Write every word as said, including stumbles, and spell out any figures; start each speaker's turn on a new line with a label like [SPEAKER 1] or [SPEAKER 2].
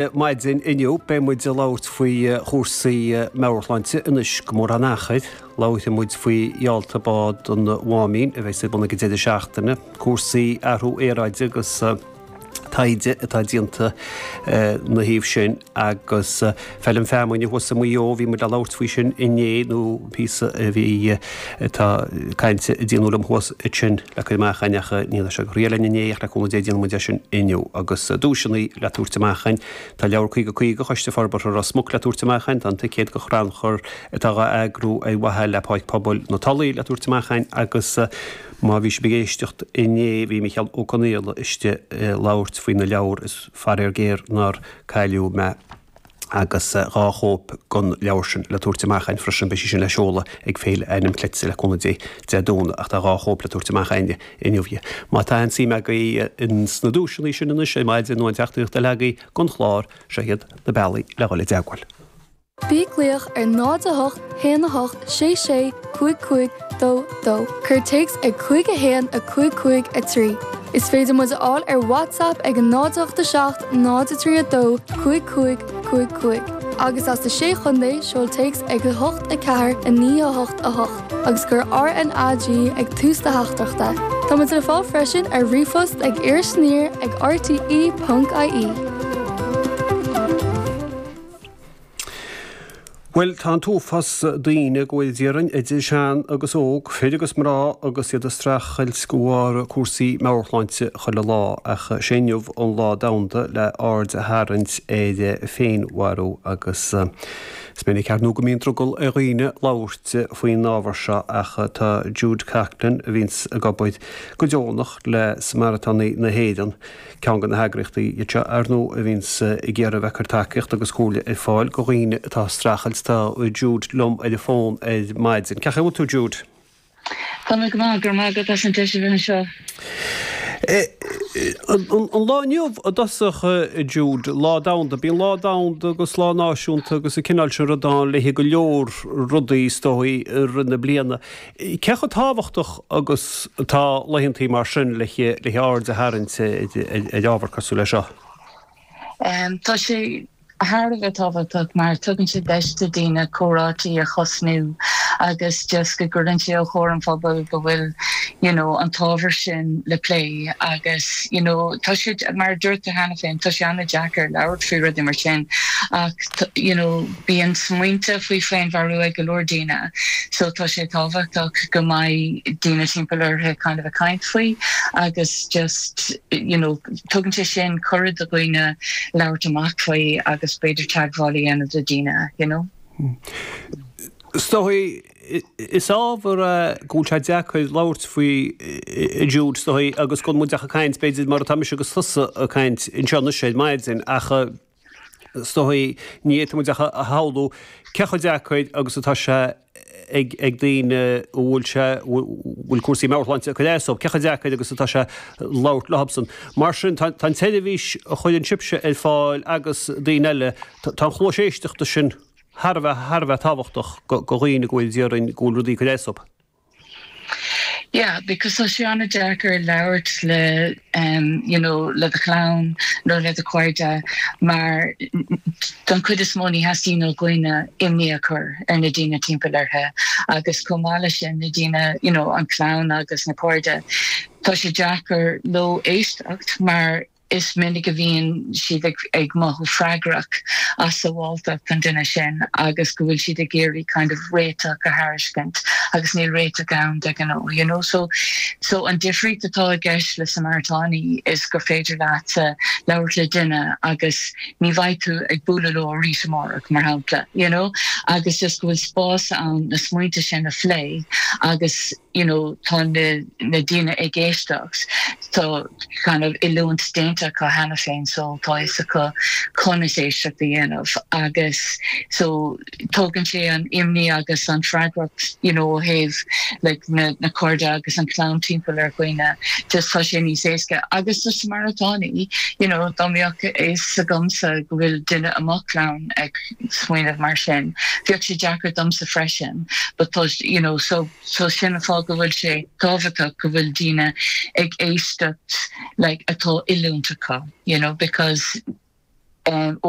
[SPEAKER 1] Maidin inniu beidh muid ag labhairt faoi chúrsaí meabhairshláinte anois go mór an achair, labharfaidh muid faoi gheallta bád an Mháimín a bheidh ar bun ag an deireadh seachtaine, cúrsaí athrú aeráide agus taighde atá déanta na thaobh sin agus feilm feamainne thuas i Maigh Eo, bhí muid ag labhairt faoi sin inné nó píosa a bhí atá cainte a déanadh liom thuas ansin le cur amach againn ach ní raibh sé go réidh linn inné ach le cúnamh Dé déanfaidh muid é sin inniu agus duaiseanna le tabhairt amach againn. Tá leabhar caoga caoga Choiste Forbartha Ros Muc le tabhairt amach againn, tá an ticéad go chrannchur atá á eagrú ar mhaithe le Páirc Pobail na Tulaí le tabhairt amach againn agus má bhí sibh ag éisteacht inné bhí Micheál Ó Conaola istigh ag labhairt faoi na leabhar is faraor géar nár cailleadh mé agus dhá chóip den leabhar sin le tabhairt amach againn freisin. Beidh sí sin le seoladh ag Féile Ainm Cleite le cúnamh Dé Dé Domhnaigh ach tá dhá chóip le tabhairt amach againne inniu. Má tá aon suim agaibh ins na duaiseanna sin anois ar maidin nó aon teachtaireacht eile agaibh don chlár, seo iad na bealaí le dhul i dteagmháil.
[SPEAKER 2] Bí ag glaoch ar náid a hocht haon a hocht sé sé cúig cúig dó dó. Cuir téacs ag cúig a haon a cúig cúig a trí. Is féidir muid a fháil ar WhatsApp ag an náid ocht a seacht náid a trí a dó cúig cúig cúig cúig. Agus as na sé chontae seol téacs ag a hocht a ceathair a naoi a hocht a hocht agus cuir RNAG ag tús do theachtaireachta. Tá muid le fáil freisin ar ríomhphost ag irisaniar ag rte ponc ie.
[SPEAKER 1] Bhuel, tá an t-uafás daoine go bhfuil déarfainn idir shean agus óg, fir agus mná agus iad ag streachailt de bharr cúrsaí meabhairshláinte chuile lá, ach sé inniu an lá domhanda le aird a tharraingt ar féinmharú agus is minic ar ndóigh go mbíonn drogall ar dhaoine labhairt faoin ábhar seo ach tá Jude Coughlan a bhíonns ag obair go deonach le Samaritánaigh na hÉireann, Ceann de na heagraíochtaí iad seo, ar ndóigh, a bhíonns ag iarraidh a bheith ag cur tacaíocht agus comhairle ar fáil do dhaoine atá ag streachailt. Tá Jude liom ar an bhfón ar maidin. Cén chaoi a bhfuil tú, Jude?
[SPEAKER 3] Tá mé go maith, go raibh maith agat as an deis a bheith anseo.
[SPEAKER 1] An lá inniu i dtosach, Jude, lá domhanda, bíonn lá domhanda agus lá náisiúnta agus an cineál sin rud ann le go leor rudaí is dóigh i rith na bliana. Cé chomh tábhachtach agus atá laethantaí mar sin le le aird a tharraingt ar ábhar cosúil leis seo?
[SPEAKER 3] Tá sé thar a bheith tábhachtach mar tugann sé deis do daoine comhráití a thosnú agus just go gcuireann sé os comhair an phobail go bhfuil you know an t-ábhar sin le plé agus you know tá sé mar a dúirt tú cheana féin tá sé an-deacair labhairt faoi rudaí mar sin ach you know bíonn smaointe faoi féinmharú ag go leor daoine so tá sé tábhachtach go mbeidh daoine timpeall orthu kind of ag caint faoi agus just you know tugann sé sin cuireadh do dhaoine labhairt amach faoi agus b'fhéidir teagmháil a dhéanamh le daoine you know.
[SPEAKER 1] Is dóigh is ábhar é go bhfuil sé deacair labhairt faoi Jude is dóigh agus go bhfuil muid ach ag caint b'fhéidir mar atá mise agus tusa ag caint anseo anois ar maidin ach is dóigh ní fhéadfaidh muid ach a shamhlú cé chomh deacair agus atá sé ag ag daoine a bhfuil sé bhfuil cúrsaí meabhairshláinte ag cur as dóibh, cé chomh deacair agus atá sé labhairt leosan. Mar sin tá an tseirbhís a chuireann sibhse ar fáil agus daoine eile, tá an chluais éisteachta sin thar a bheith thar a bheith tábhachtach do dhaoine go bhfuil déarfainn go bhfuil rudaí ag cur as dóibh.
[SPEAKER 3] Yeah, because tá sé an-deacair labhairt le um, you know, le do chlann nó le do chairde mar don chuid is mó ní theastaíonn ó dhaoine imní a chur ar na daoine timpeall orthu agus chomh maith leis sin na daoine you know, an chlann agus na cairde tá sé deacair leo éisteacht mar is minic a bhíonn siad ag ag mothú freagrach as sábháilteacht an duine sin agus go bhfuil siad ag iarraidh kind of réiteach a thairiscint agus níl réiteach ann de ghnáth you know so so an difríocht atá i gceist le Samaritánaigh is gur féidir leat labhairt le duine agus ní bheidh tú ag bualadh leo arís amárach mar shampla you know agus just go bhfuil spás ann na smaointe sin a phlé agus you know tá na na daoine ag éisteacht tá kind of oiliúint déanta acu cheana féin so tá fhios acu conas éisteacht a dhéanamh agus so tógann sé an imní agus an freagracht you know ó thaobh like na na cairde agus an chlann timpeall ar dhaoine just tá sé níos éasca agus do Samaritánaigh you know dá mbeadh fhios agamsa go bhfuil duine i mo chlann ag smaoineamh mar sin bheadh sé deacair domsa freisin but tá you know so So sin an fáth go bhfuil sé tábhachtach go bhfuil daoine ag éisteacht like atá oiliúint acu you know because um,